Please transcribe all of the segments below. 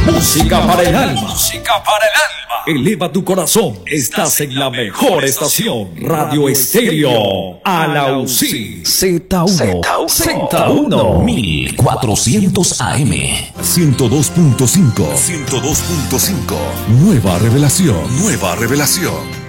Música para el alma. Música para el alma. Eleva tu corazón. Estás en la mejor estación. Radio Estéreo. Alausí. Z1. Z1. 1400 AM. 102.5. 102.5. Nueva revelación. Nueva revelación.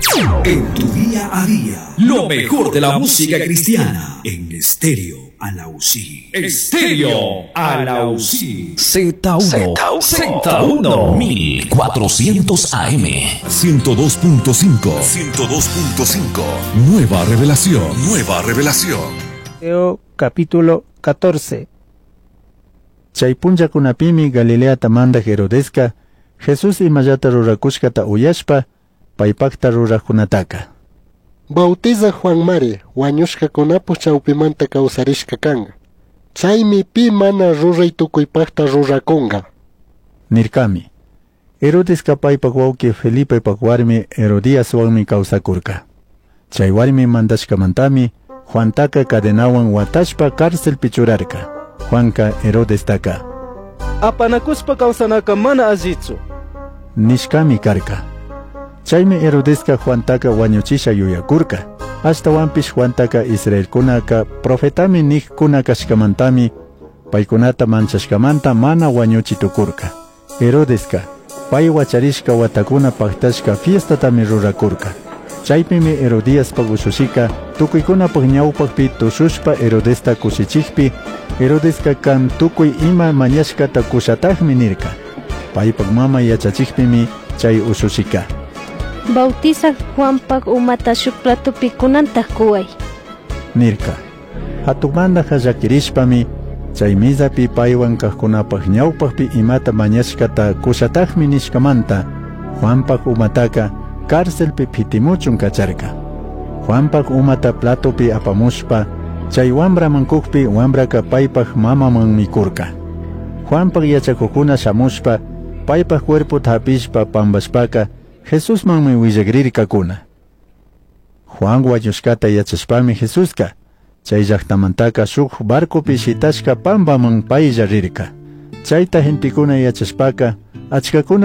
En tu día a día. Lo mejor de la música cristiana. En Estéreo Alausí. Estéreo Alausí. Z1. Z1. 1400 AM. 102.5. 102.5. Nueva revelación. Nueva revelación. Mateo capítulo 14. Chay punllakunapimi Galileata mandaj Herodesca Jesús imallata rurakushkata uyashpa paypakta rurajkunataka. Bautizaj Juanmari wañushkakunapak chawpimanta kawsarishka kan. Chaymi pi mana ruray tukuypaqta rurakunqa. Nirkami. Herodeska paypak wawqi Felipepak warmi Herodiaswanmi kawsakurka. Chay warmi mandashkamantami Juantaka cadenawan watashpa cárcelpi churarka. Juanka Herodestaka Apanakuspa kawsanaka mana allichu. nishkami karka. Chaymi Herodeska Juantaka wañuchisha yuyakurka. Ashtawanpish Juantaka Israelkunaka profetami niqkuna kashkamantami paykunata manchashkamanta mana wañuchi tukurka. Herodeska pay wacharishka watakuna paktashka fiestatami rurakurka. Chaypimi Herodiaspak ushushika tukuykunapaq ñawpaqpi tushushpa Herodesta kushichikpi Herodeska kan tukuy ima mañashkata kushatajmi nirka. Paypak mama yachachikpimi chay ushushika. Bautizaj Juanpak umata shuk platopi kunantaj kuway. Nirka. Hatunmanta llakirishpami chay mizapi paywan kaqkunapaq ñawpaqpi imata mañashkata kushatajmi nishkamanta Juanpak umataka cárcelpi phitimuchun kacharka. Juanpak umata platopi apamushpa chay wambraman kukpi wambraka paypak mamaman mikurka. Juanpak yachakukuna shamushpa paypak cuerpota hapishpa pampashpaka Jesusmanmi willakrirkakuna. Juan wañushkata yachashpami Jesuska chay llaqtamantaka shuk barcopi shitashka pampaman paylla rirka. Chayta gentekuna yachashpaka achkakuna.